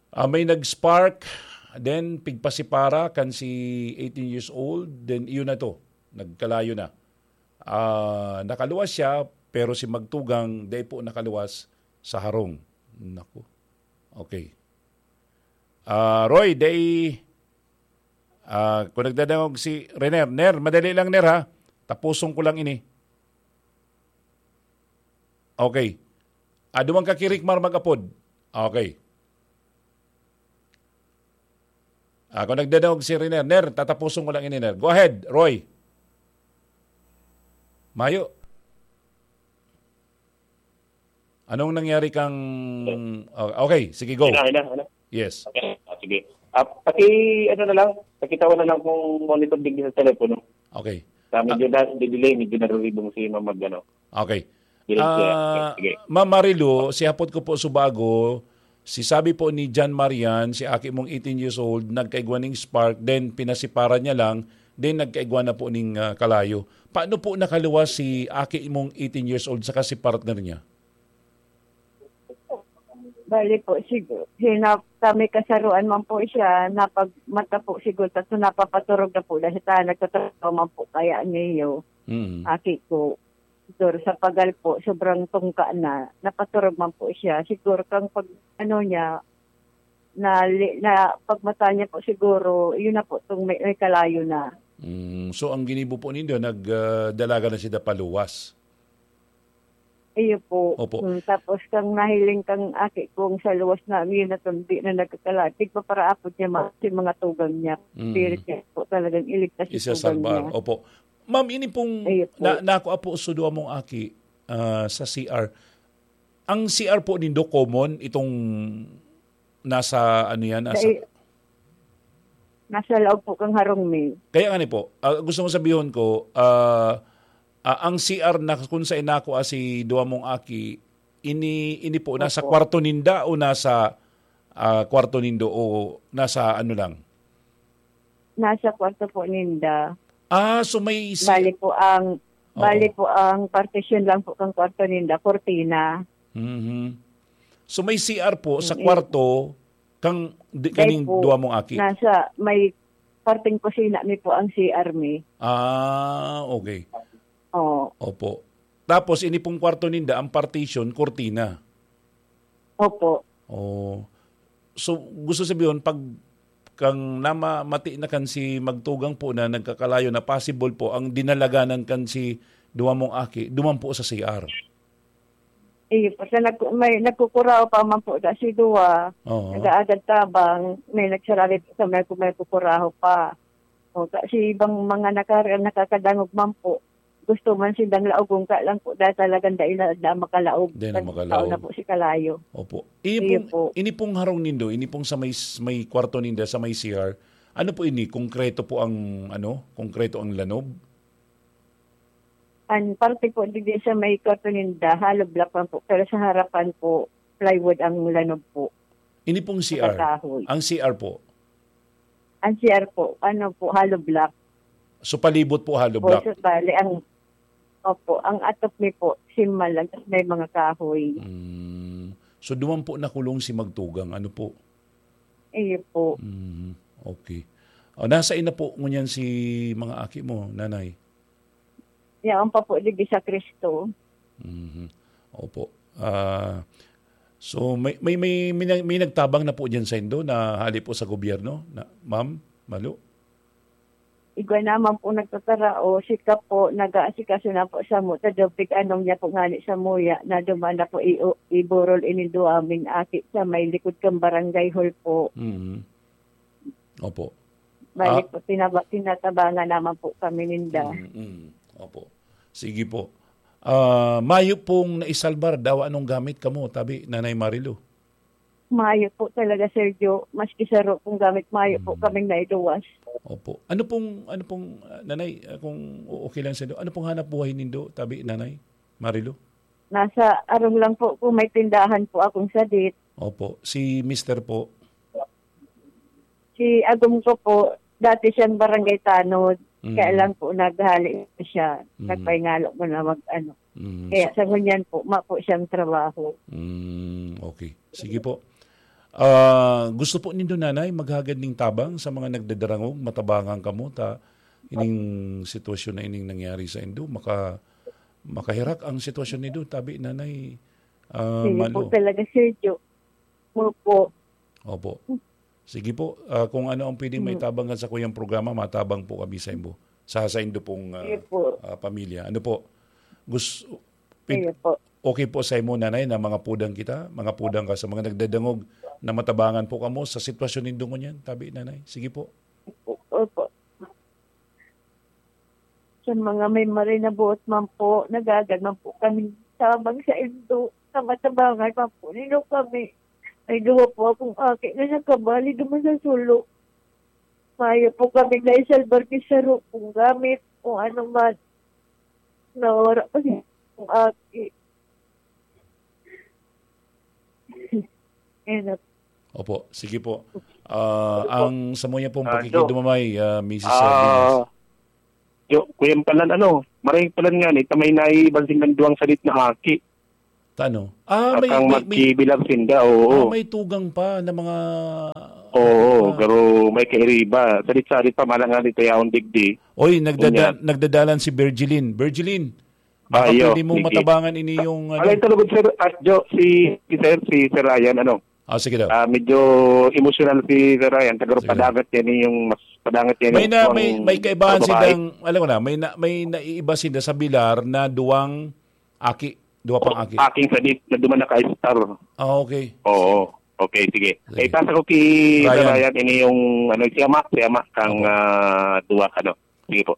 Ah, may nag-spark, then pigpasipara kan si eighteen years old, then iyon na to, nagkalayo na. Ah, nakaluwas siya, pero si magtugang, dai po nakaluwas sa harong. Naku. Okay. Ah, Roy, dai, ah, kung nagdadangog si Rener. Ner, madali lang, Ner, ha? Tapuson ko lang ini. Okay. Ah, duman ka ki Rickmar mag-apod. Okay. Ah, kung nagdadangog si Rener. Ner, tatapuson ko lang ini, Ner. Go ahead, Roy. Mayo. Anong nangyari kang, oh, okay, sige, go. Hina, hina, hina. Yes. Okay. Ah, sige. Ah, paki, ano na lang, pakitawan na lang kung monitor digdi sa telepono. Okay. Sa medyo Ah. na, delay, medyo naruribong si Ma'am mag, ano. Okay. Delay siya. Ah, Okay, sige. Ma'am Marilu, si hapot ko po subago, si sabi po ni John Marian, si aki mong eighteen years old, nagkaigwa ning spark, then pinasiparan niya lang, Then nagkaigwa na po ning, ah, kalayo. Paano po nakaluwas si aki mong eighteen years old saka si partner niya? Bali po, sigu-, hinap-, kami kasaruan man po siya, napagmata po siguro, tapos napapaturog na po dahil sa nagtatrabaho man po kaya niyo, Mm. aki ko. Siguro sa pagal po, sobrang tungka na, napaturog man po siya. Siguro kang pag, ano niya, na, na pagmata niya po siguro, yun na po, itong may, may kalayo na. Mm, so, ang ginibo po nindo, nag, ah, dalaga na siya paluwas? Iyo po. Opo. Mm, tapos kang nahiling kang aki kong sa luwas na, yun na itong di na nagkakala. Tigpaparaapod niya, ma-, si mga tugang niya. Mm. Spirit niya po talagang iligtas si Isa tugang salbar. niya. Opo. Ma'am, ini pong Iyo po. na, nakuha po sa duwa mong aki, ah, sa C R. Ang C R po nindo, common, itong nasa, ano yan, Sa nasa i-, nasa laog po kang harong mi. Kaya nga ni po, ah, gusto mo sabihon ko, ah, ah, ang C R na kung sa inako, ah, si duwa mong aki, ini, ini po, nasa Opo. kwarto ninda o nasa, ah, kwarto nindo o nasa ano lang? Nasa kwarto po ninda. Ah, so may si- Bali po ang, Oo. bali po ang partition lang po kang kwarto ninda, kortina. Mhm. So may C R po sa Mm. kwarto kang di, Dahil kaning po, duwa mong aki? nasa may parteng kusina mi po ang C R mi. Ah, okay. Oo. Opo. Tapos, ini pong kwarto ninda, ang partition, kortina. Opo. Oh. So, gusto sabihin, pag kang nama-, mati na kan si magtugang po na nagkakalayo na possible po, ang dinalaganan kan si duwa mong aki, duman po sa C R. Eh, basta nag-, may nagkukuraho pa man po, da si duwa, Oo. nag-aagad tabang, may nagsarali po sa may, may kukuraho pa. O, ta-, si ibang mga nakar-, nakakadangog man po, gusto man sindang laogon, ka lang po, dahil talagang dai na, na makalaog. Dai na Pag makalaog. tao na po si kalayo. Opo. Ini Iyo pong, po. ini pong harong nindo, ini pong sa may, may kwarto ninda, sa may C R, ano po ini? Konkreto po ang, ano? Konkreto ang lanob? Ang parte po, digdi sa may kwarto ninda, hollow block man po. Pero sa harapan po, plywood ang lanob po. Ini pong C R. Nakakahoy. Ang C R po? Ang C R po, ano po, hollow block. So, palibot po, hollow Po, block? so, bali, ang, opo, ang atop mi po, simal lang, tas may mga kahoy. Mm. So, duman po nakulong si magtugang, ano po? Iyo po. Mm, okay. O, nasa ina po ngunyan si mga aki mo, nanay? Yaon pa po, digdi sa Cristo. Mhm. Opo. Ah, so, may, may, may, may, nag-, may nagtabang na po diyan sa indo na hali po sa gobyerno, na, ma'am, Malu? Igwa naman po nagtatara o sika po, nag-aasikaso na po sa mo, ta dopig anong niya po ngani sa muya, na duman na po i-, iburol ini duwa ming aki sa may likod kang barangay hall po. Mhm. Opo. Balik Ah. po, tinaba-, tinatabangan naman po kami ninda. Mm, mm. Opo. Sige po. Ah, mayo pong naisalbar daw anong gamit kamo, tabi, Nanay Marilu? Mayo po talaga, Sergio. Maski saro pong gamit, mayo po Mm. kaming nailuwas. Opo. Ano pong, ano pong, ah, Nanay, ah, kung okay lang sa inyo, ano pong hanap buhay nindo, tabi, Nanay Marilu? Nasa arong lang po, kung may tindahan po akong sadit. Opo. Si mister po? Si agom ko po, dati siyang barangay tanod. Mm. Kaya lang po, naghali siya. Mm. Nagpahingalo ko na mag-ano. Mm. Kaya So sa ngunyan po, ma po siyang trabaho. Mm, okay. Sige po. Ah, gusto po nindo, Nanay, maghagad ning tabang sa mga nagdadarangog, matabangan kamo, ta ining sitwasyon na ining nangyari sa indo, maka-, makahirak ang sitwasyon nindo, tabi, Nanay, ah, Sige po Malo. talaga, Sir Jo. Opo. Opo. Sige po, ah, kung ano ang pwedeng Mm. maitabang kan sa kuyang programa, matabang po kami sa imo. Sa, sa indo pong, ah, Sige po. ah, pamilya. Ano po? Gus-, pwed-, Sige po. okay po sa imo, Nanay, na mga pudang kita, mga pudang ka sa mga nagdadangog na matabangan po kamo sa sitwasyon nindo ngunyan, tabi, Nanay? Sige po. Opo. Sa mga may marinabuot man po, nagagad man po kami tabang sa indo, sa matabangan man po nino kami. May duwa po akong aki na nakabali duman sa sulo. Mayo po kami naisalbar ni saro kung gamit, kung ano man. Nawara pa si akong aki. Ayan na. Opo, sige po. Ah, Opo. ang samuya pong Ah, pakikidumamay, ah, Missus Ah, Sardinas. Yo, kuya palan ano, maray palan nga ni, ta may naiiban sindang duwang sadit na aki. Tano? Ah, may, Akang may, may, magkibilang sinda, ah, oo. May tugang pa na mga, Oo, ah, pero may kairiba. Sadit-sadit pa, malang nga ni Kuya Ondig di. Oy, nagdada-, Unya. Nagdadalan si Virgilin. Virgilin, baka Ayo, pwede mo sige. Matabangan ini yung, ano. Alay talugod, sir, at Jo, si, si sir, si Sir Ryan, ano? Ah, sige daw. Ah, medyo emosyonal si Sir Ryan. Tagaro Sige. Padangat yan yung mas padangat yan May yung na, may, may kaibahan sa babae. Sidang, alam ko na, may na, may naiiba sinda sa bilar na duwang aki, duwa pang aki. Aking sadit na duman naka-star. Ah, okay. Oo. Okay, sige. Sige. Eh, pasa ko kay Sir Ryan. Ryan, ini yung, ano, siyama, siyama kang, Opo. Ah, duwa, ano. Sige po.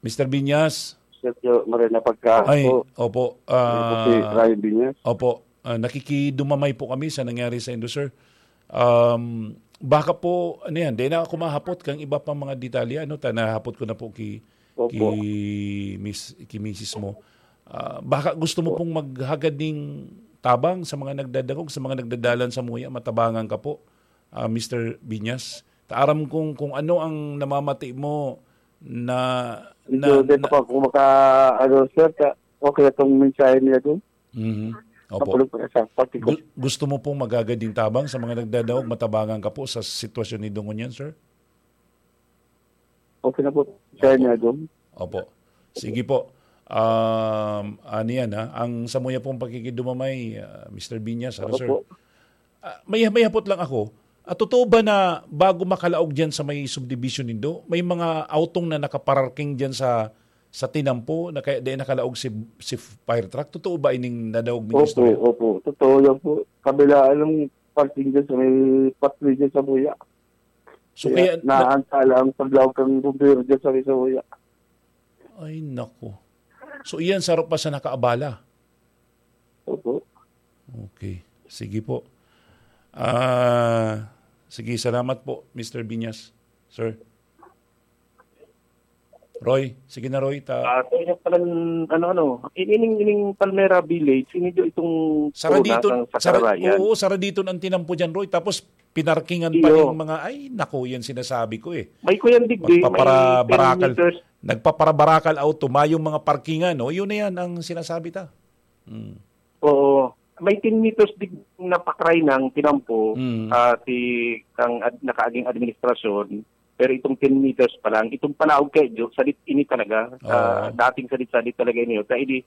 Mister Binyas? Sir Jo, maray na pagkaon Ay, po. Opo. Ako po si Ah, Ryan Binyas. Opo. Ah, nakikidumamay po kami sa nangyari sa indo, sir. Um, baka po, ano yan, di na ako mahapot kang iba pang mga detalye, ano, ta-, nahapot ko na po ki-, Opo. ki Miss, ki misis mo. Ah, baka gusto mo Opo. Pong maghagad ning tabang sa mga nagdadangog, sa mga nagdadalan sa muya, matabangan ka po, ah, Mister Binyas. Ta-, aram kong kung ano ang namamati mo na, Medyo na, di na pa ako maka-, ano, sir, ka-, okay itong mensahe niya doon. Mhm. Opo. Mapulog pa siya, pati ko. Gu-, gusto mo pong maghagad ning tabang sa mga nagdadangog, matabangan ka po sa sitwasyon ni Dong ngunyan, sir? Okay na po, sir, Opo. Niya doon. Opo. Sige po. Um, ano yan, ha? Ang samuya pong pakikidumamay, ah, Mister Binyas, ano, Opo sir? Po. Ah, may, may hapot lang ako. Ah, totoo ba na bago makalaog diyan sa may subdivision nindo, may mga autong na nakapararking diyan sa, sa tinampo na kaya di nakalaog si, si fire truck? Totoo ba ining nadaog mong Opo, istorya? Opo. Totoo yan po. Kabilaan ng parking dyan sa may pathway dyan sa Buya. So, Kaya kaya na naantala ang paglaog kang bumbero dyan sa may Buya. Ay, naku. So, iyan saro pa sa nakaabala? Opo. Okay. Sige po. Ah, sige, salamat po, Mister Binyas. Sir. Roy, sige na, Roy. Ta- Ah, so, yung palan, ano, ano, in-, ining, ining Palmera Village, ini jo itong Sara corona dito, kang sa sara, Sarayan. Oo, sara dito ang tinampo dyan, Roy. Tapos, pinarkingan pa Iyo. Yung mga, ay, naku, yan sinasabi ko eh. May kuyan digdi, may Magpapara-, ten barakal, meters. Nagpaparabarakal auto, mayong mga parkingan, no? Yun na yan ang sinasabi ta. Hmm. Oo. May ten meters dig na pakray ng tinampo, Mm. ah, si kang ad-, nakaaging administrasyon, pero itong ten meters pa lang, itong palaog kay Jo, sadit ini talaga, ah, Oo. Dating sadit-sadit talaga ini. Kaya ini,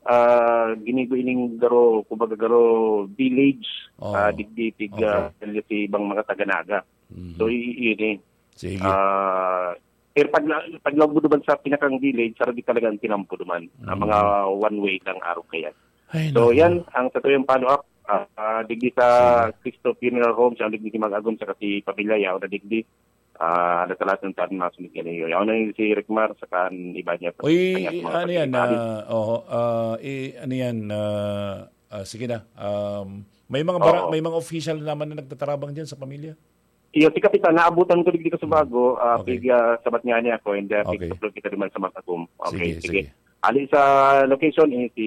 ah, ginibo ining garo, kumbaga garo village, Oo. ah, digdi tig, Okay. ah, si ibang mga taga-Naga. Mhm. So, i-, yun eh. Sige. Ah, pero pag, pag lawag mo naman sa pinakang village, sarado talaga ang tinampo naman. Ang Mm. mga one way ng araw kaya. Ay, So, naku. Yan, ang sa tuyong follow-up, ah, ah, digdi sa Sige. Cristo Funeral Home, sa digdi si Mag-agom, sa kasi pamilya, yaw na digdi, ah, natalas ng taon na sulit yan. Yaw na yun si Rickmar, sa kan iba niya. Uy, Kanya mga ano yan, pagkain. Ah, oho, ah, i-, ano yan, ah, ah, sige na. Um, may mga bara-, Oo. May mga official naman na nagtatarabang dyan sa pamilya? Iyo, si Kapitan, naabutan ko digdi ka sa bago, ah, Okay. pig, ah, sabat nga niya ako, and, ah, Okay. Pig-upload kita naman sa Matagum. Okay, Sige, sige. sige. Ali sa location, eh, si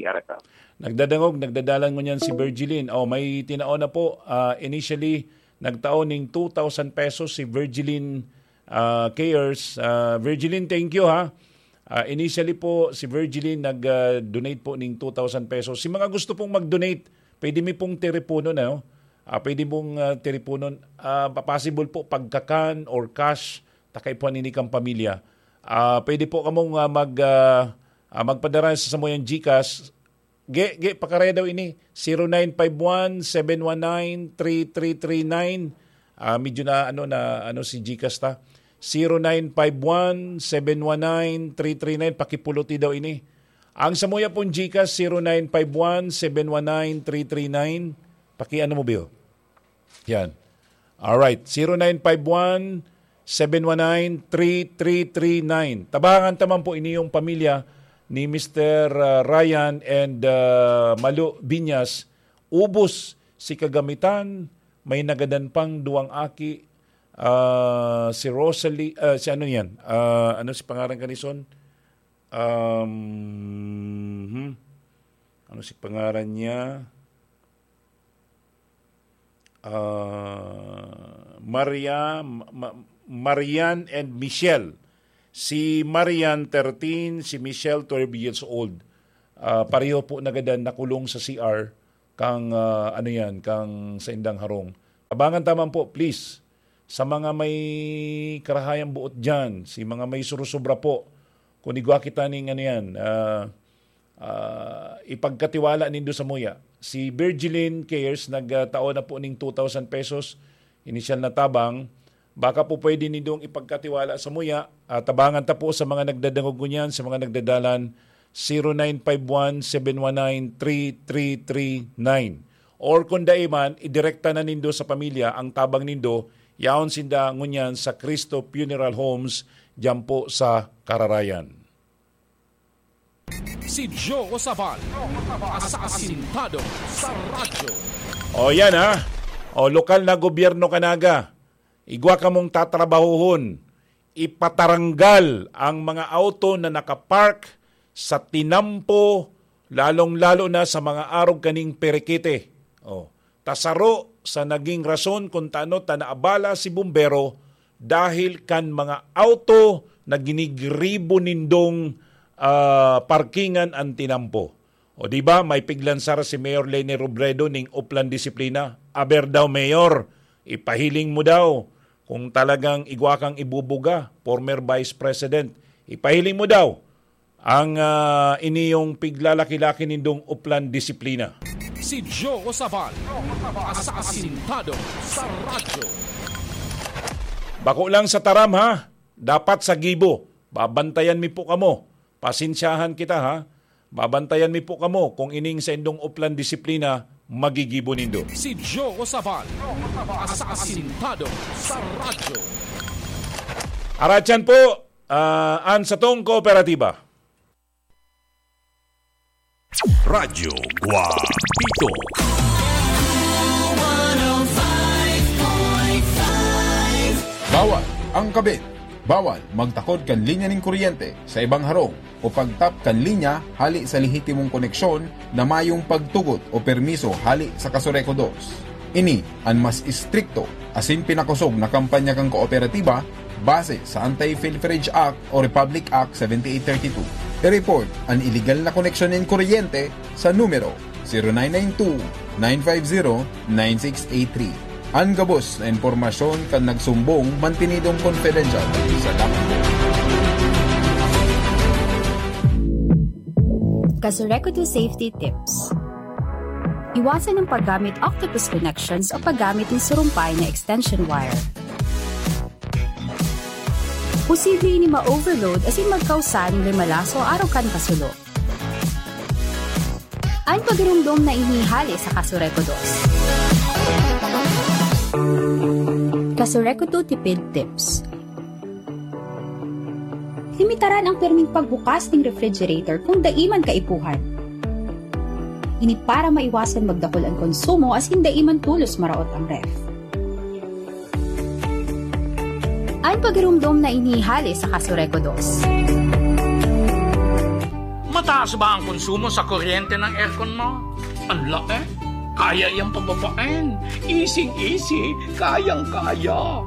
Araka. Nagdadangog, nagdadalan ngunyan si Virgilin. Oh, may tinao na po. Ah, initially, nagtao ning two thousand pesos si Virgilin, ah, Cares. Ah, Virgilin, thank you, ha. Ah, initially po, si Virgilin nag, ah, donate po ning two thousand pesos. Si mga gusto pong mag-donate, pwede mi pong teleponon, ano? Ah, pwede mong, ah, teleponon. Ah, pa-, possible po pagkakan or cash, takay po ang inikang pamilya. Ah, pwede po kamong, ah, mag, ah, ah, magpadara sa samuyang GCash. Ge, ge, pakaraya daw ini. Zero nine five one, seven one nine, three three three nine. Ah, medyo na, ano, na, ano, si GCash ta. Zero nine five one, seven one nine, three three nine. Pakipuluti daw ini. Ang samuya pong GCash, zero nine five one, seven one nine, three three nine. Paki-ano mo, Bill? Yan. Alright. Zero nine five one, seven one nine, three three three nine. Tabangan ta man po ini yung pamilya ni Mister, ah, Ryan and, ah, Malu Binyas. Ubos si kagamitan, may nagadan pang duwang aki, ah, si Rosalie, ah, si ano yan? Ah, ano si pangaran kanison? Um, hmm. Ano si pangaran niya? Ah, Maria, Ma-, Ma-, Marian and Michelle. Si Marian, thirteen, si Michelle, twelve years old. Ah, pareho po nagadan nakulong sa C R kang, ah, ano yan, kang saindang harong. Tabangan ta man po, please. Sa mga may karahayang buot dyan, si mga may surusubra po, kung igwa kita ning ano yan, ah, ah, ipagkatiwala nindo sa muya. Si Virgilin Cares nagtao na po ning two thousand pesos, inisyal na tabang. Baka po pwede nindong ipagkatiwala sa muya. Ah, tabangan ta po sa mga nagdadangog ngunyan, sa mga nagdadalan, zero nine five one, seven one nine, three three three nine. Or kung dai man, idirekta na nindo sa pamilya ang tabang nindo, yaon sinda ngunyan sa Cristo Funeral Homes, diyan po sa Kararayan. Si Joe Sabal, asasintado sa radyo. O yan ha. O lokal na gobyerno ka naga. Igwa kamong tatrabahuhon. Ipataranggal ang mga auto na nakapark sa tinampo, lalong-lalo na sa mga arog kaning Perekete. O, tasaro sa naging rason kung tano ta naabala si bumbero dahil kan mga auto na ginigribo nindong, ah, parkingan an tinampo. O di ba, may piglansar si Mayor Leni Robredo ning Oplan Disiplina. Aber daw, Mayor, ipahiling mo daw kung talagang igwa kang ibubuga, former Vice President. Ipahiling mo daw ang, ah, iniyong piglalaki-laki nindong Oplan Disiplina. Si Joe Sabal, asasintado sa radyo. Bako lang sa taram, ha? Dapat sa gibo. Babantayan mi po kamo. Pasensyahan kita, ha? Babantayan mi po kamo kung ining saindong Oplan Disiplina magigibo nindo. Si Joe Sabal, asasintado sa radyo. Aratyan po, ah, an satong kooperatiba. Radyo Guapito. Bawal ang kabit. Bawal magtakod kan linya nin kuryente sa ibang harong o pagtap kan linya hali sa lehitimong koneksyon na mayong pagtugot o permiso hali sa Kasureco dos. Ini an mas istrikto asin pinakosog na kampanya kan kooperatiba base sa Anti-Pilferage Act o Republic Act seventy-eight thirty-two. I-report an iligal na koneksyon nin kuryente sa numero zero nine nine two, nine five zero, nine six eight three. An gabos na impormasyon kan nagsumbong mantinidong confidential sa dapat. Kasureco dos Safety Tips. Iwasan ang paggamit octopus connections o paggamit ng surumpay na extension wire. Posible ini ma-overload asin magkausa nin limalaso arog kan kasulo. An pagiromdom na ini hale sa Kasureco dos. Kasureco dos Tipid Tips. Limitaran ang pirming pagbukas ning refrigerator kung dai man kaipuhan. Ini para maiwasan magdakul an konsumo asin dai man tolos maraot ang ref. An pagiromdom na ini hale sa Kasureco dos. Mataas ba ang konsumo sa kuryente ng aircon mo? Ang laki. Kaya iyang pababain. Easy-easy. Kayang-kaya.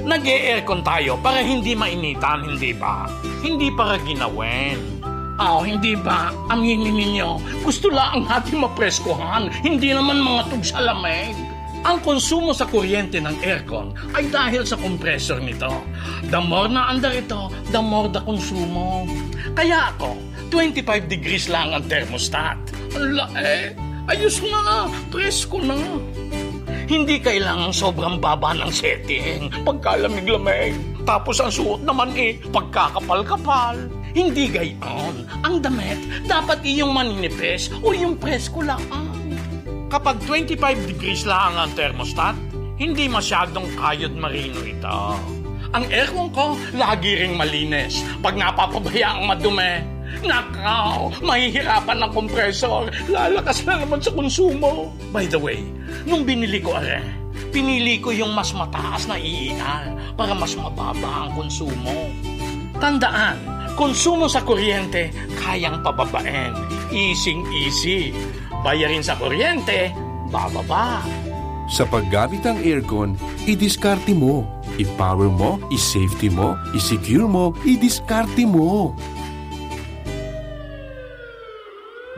Nag-e-aircon tayo para hindi mainitan, hindi ba? Hindi para ginawin. Aw, hindi ba? Aminin ninyo, gusto laang natin mapreskuhan, hindi naman mga tugsalamig. Ang konsumo sa kuryente ng aircon ay dahil sa compressor nito. The more na andar ito, the more the konsumo. Kaya ako, twenty-five degrees lang ang thermostat. Ang lae! Ayos na! Presko na! Hindi kailangang sobrang baba ng setting. Pagkalamig-lamig. Tapos ang suot naman eh, pagkakapal-kapal. Hindi gayon. Ang damit, dapat iyong maninipis o iyong presko lang. Kapag twenty-five degrees lang ang thermostat, hindi masyadong kayod marino ito. Ang aircon ko, lagi ring malinis. Pag napapabayaang madumi, nakaw, mahihirapan ang compressor. Lalakas na naman sa konsumo. By the way, nung binili ko are, pinili ko yung mas mataas na E E R para mas mababa ang konsumo. Tandaan, konsumo sa kuryente, kayang pababain. Easy-easy. Bayarin sa kuryente, bababa. Sa paggamit ng aircon, idiskarte mo. I-power mo, i-safety mo, i-secure mo, i-diskarte mo.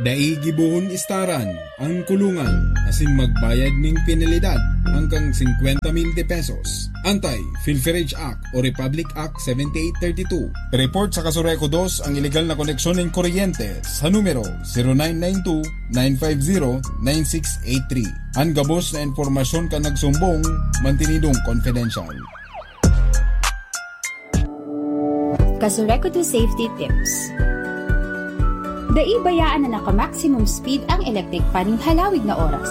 Dai gibohon istaran an kulungan asin magbayad nin penalidad hanggang singkwenta mil de pesos. Anti-Pilferage Act o Republic Act seventy-eight thirty-two. Report sa Kasureco dos ang ilegal na koneksyon nin kuryente sa numero zero nine nine two, nine five zero, nine six eight three. An gabos na impormasyon kan nagsumbong, mantinidong confidential. Kasureco two Safety Tips. Dai bayaan na naka-maximum speed ang electric fan nin halawig na oras.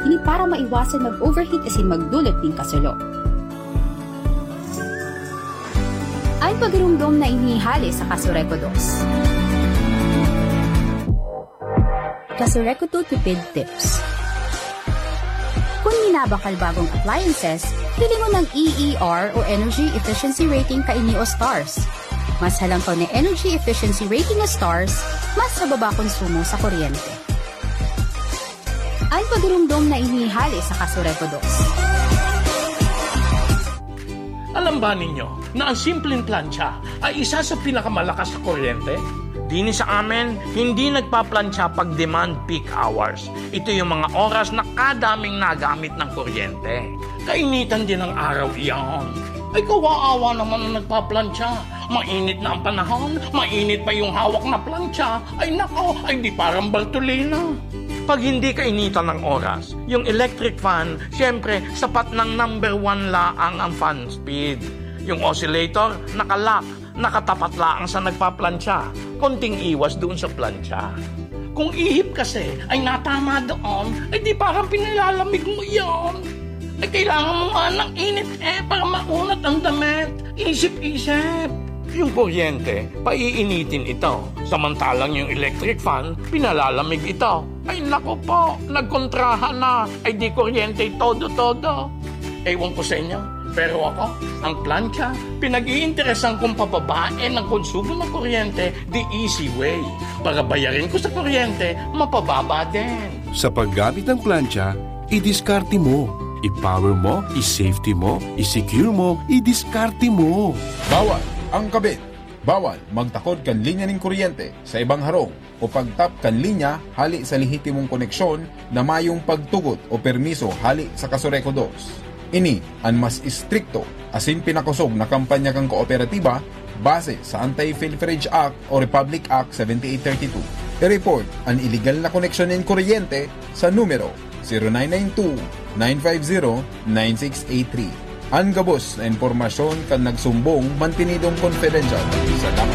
Ini para maiwasan mag-overheat asin magdulot nin kasulo. An pagirumdom na ini hale sa Kasureco dos. Kasureco two Tipid Tips. Kun minabakal bagong appliances, hilingon ang E E R o Energy Efficiency Rating kaini o stars. Mas halangkaw na energy efficiency rating o stars, mas mababa konsumo sa kuryente. An pagirumdom na ini hale sa Kasureco dos. Alam ba ninyo na ang simpleng plantsa ay isa sa pinakamalakas sa kuryente? Dini sa amin, hindi nagpaplantsa pag demand peak hours. Ito yung mga oras na kadaming nagamit ng kuryente. Kainitan din ang araw iyan. Ay, kawaawa naman ang nagpaplantsa. Mainit na ang panahon, mainit pa yung hawak na plantsa. Ay nako, ay di parang Bartolina. Pag hindi kainitan ng oras, yung electric fan, siyempre, sapat ng number one laang ang fan speed. Yung oscillator, nakalock, nakatapat laang sa nagpaplantsa. Konting iwas doon sa plantsa. Kung ihip kasi ay natama doon, ay di parang pinilalamig mo yon. Ay kailangan mo nga ng init eh para maunat ang damit. Isip-isip. Yung kuryente, paiinitin ito. Samantalang yung electric fan, pinalalamig ito. Ay naku po, nagkontrahan na. Ay di kuryente todo-todo. Ewan ko sa inyo, pero ako, ang plantsa, pinag-iinteresan kong pababain ang konsumo ng kuryente the easy way. Para bayarin ko sa kuryente, mapababa din. Sa paggamit ng plantsa, idiskarte mo. I-power mo, i-safety mo, i-secure mo, idiskarte mo. Bawal ang kabit. Bawal magtakod kan linya nin kuryente sa ibang harong o pagtap kan linya hali sa lehitimong koneksyon na mayong pagtugot o permiso hali sa Kasureco dos. Ini an mas istrikto asin pinakosog na kampanya kan kooperatiba base sa Anti-Pilferage Act o Republic Act seventy-eight thirty-two. I-report an iligal na koneksyon nin kuryente sa numero zero nine nine two, nine five zero, nine six eight three. An gabos na impormasyon kan nagsumbong mantinidong confidential. Salamat.